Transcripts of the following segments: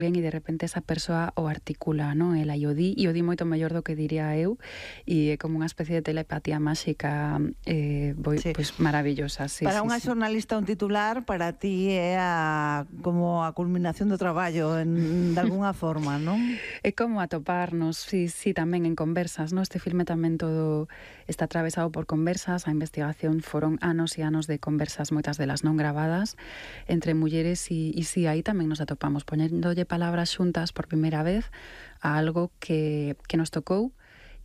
ben e de repente esa persoa o articula, non? Ela e o di moito mellor do que diría eu, e é como unha especie de telepatía máxica pois maravillosa. Sí, para unha sí. xornalista un titular, para ti é como a culminación do traballo de alguna forma, non? É como atoparnos, sí, tamén en conversas, non? Este filme tamén todo está atravesado por conversas, a investigación foron anos e anos de conversas, moitas delas non gravadas, entre mulleres e sí, aí tamén nos atopamos, poñéndolle palabras xuntas por primeira vez a algo que nos tocou,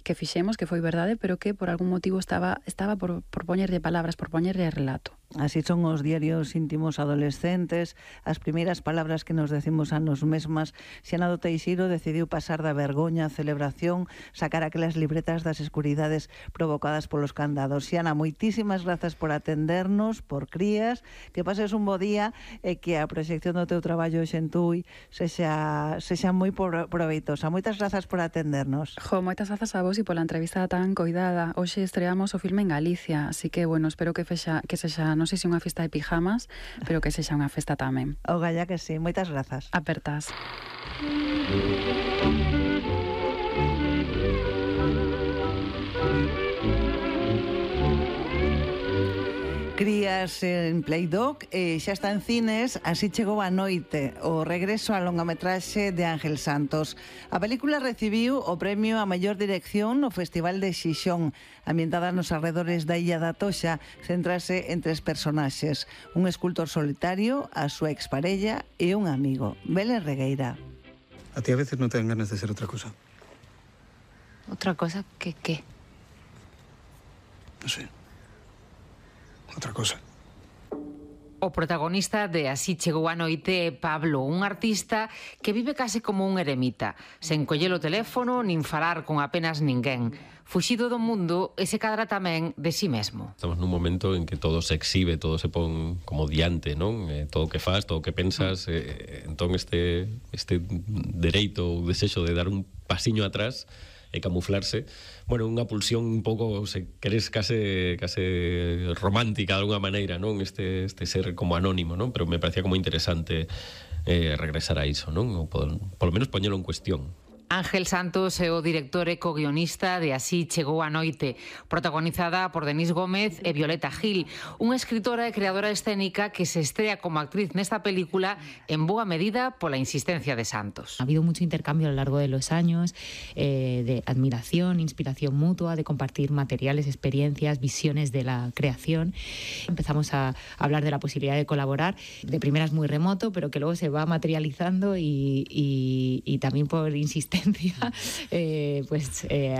que fixemos, que foi verdade, pero que por algún motivo estaba por poñerlle palabras, por poñerlle relato. Así son os diarios íntimos adolescentes, as primeiras palabras que nos decimos a nos mesmas. Xiana do Teixeiro decidiu pasar da vergoña á celebración, sacar aquelas libretas das escuridades provocadas polos candados. Xiana, moitísimas grazas por atendernos, por crías, que pases un bo día e que a proxección do teu traballo en Tui sexa moi proveitosa. Moitas grazas por atendernos. Moitas grazas a vos e pola entrevista tan coidada. Hoxe estreamos o filme en Galicia, así que, bueno, espero que sexa non sei se unha festa de pijamas, pero que sexa unha festa tamén. Ogalla que sí, moitas grazas. Apertas. Crías en Playdoc xa está en cines Así chegou a noite, o regreso á longametraxe de Ángel Santos. A película recibiu o premio a mellor dirección no Festival de Xixón. Ambientada nos arredores da Illa da Toxa, centrase en 3 personaxes: un escultor solitario, a súa exparella e un amigo. Belén Regueira. A ti a veces non te dan ganas de ser outra cosa. ¿Otra cosa? ¿Qué? Non sei. Outra cosa. O protagonista de Así chegou a noite é Pablo, un artista que vive case como un eremita, sen coller o teléfono nin falar con apenas ninguén. Fuxido do mundo e se cadra tamén de si mesmo. Estamos nun momento en que todo se exhibe, todo se pon como diante, non? Todo o que faz, todo o que pensas, entón este dereito ou desexo de dar un pasiño atrás e camuflarse, bueno, unha pulsión un pouco, se queres, case romántica de alguna maneira, non? Este ser como anónimo, non? Pero me parecía como interesante regresar a iso, non? Ou polo menos poñelo en cuestión. Ángel Santos é o director e co-guionista de Así chegou a noite, protagonizada por Denís Gómez e Violeta Gil, unha escritora e creadora escénica que se estrea como actriz nesta película en boa medida pola insistencia de Santos. Ha habido mucho intercambio a lo largo de los años, de admiración, inspiración mutua, de compartir materiales, experiencias, visiones de la creación. Empezamos a hablar de la posibilidad de colaborar, de primeras muy remoto, pero que luego se va materializando y también por insistencia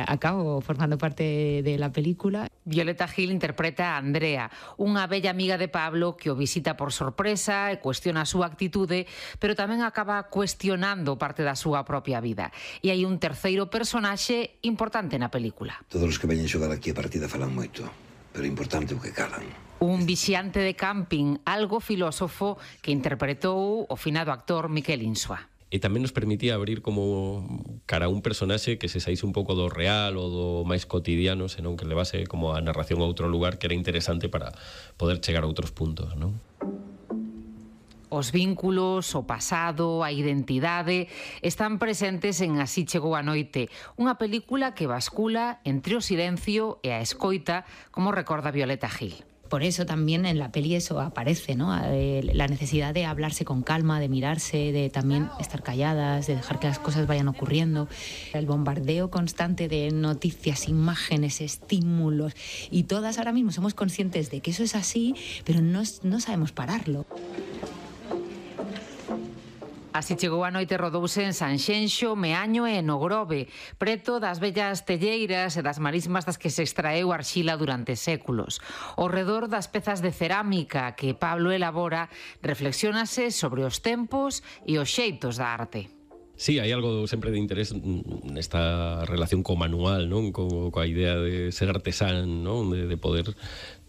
acabo formando parte de la película. Violeta Gil interpreta a Andrea, unha bella amiga de Pablo que o visita por sorpresa e cuestiona a súa actitude, pero tamén acaba cuestionando parte da súa propia vida. E hai un terceiro personaxe importante na película. Todos os que veñen xogar aquí a partida falan moito, pero é importante o que calan. Un vixiante de camping, algo filósofo, que interpretou o finado actor Miquel Insua. E tamén nos permitía abrir como cara a un personaxe que se saíse un pouco do real ou do máis cotidiano, senón que levase como a narración a outro lugar que era interesante para poder chegar a outros puntos, non? Os vínculos, o pasado, a identidade están presentes en Así chegou a noite, unha película que bascula entre o silencio e a escoita, como recorda Violeta Gil. Por eso también en la peli eso aparece, ¿no? La necesidad de hablarse con calma, de mirarse, de también estar calladas, de dejar que las cosas vayan ocurriendo. El bombardeo constante de noticias, imágenes, estímulos, y todas ahora mismo somos conscientes de que eso es así, pero no sabemos pararlo. Así chegou a noite rodouse en Sanxenxo, Meaño e no Grove, preto das vellas telleiras e das marismas das que se extraeu arxila durante séculos. Ao redor das pezas de cerámica que Pablo elabora, reflexiónase sobre os tempos e os xeitos da arte. Sí, hai algo sempre de interés nesta relación co manual, non? Coa idea de ser artesán, non? De poder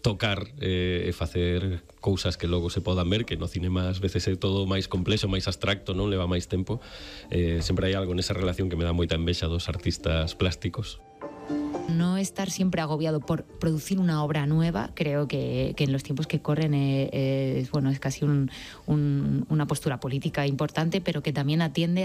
tocar e facer cousas que logo se podan ver, que no cinema ás veces é todo máis complexo, máis abstracto, non? Leva máis tempo. Sempre hai algo nesa relación que me dá moita envexa dos artistas plásticos. No estar siempre agobiado por producir una obra nueva, creo que en los tiempos que corren es casi una postura política importante, pero que también atiende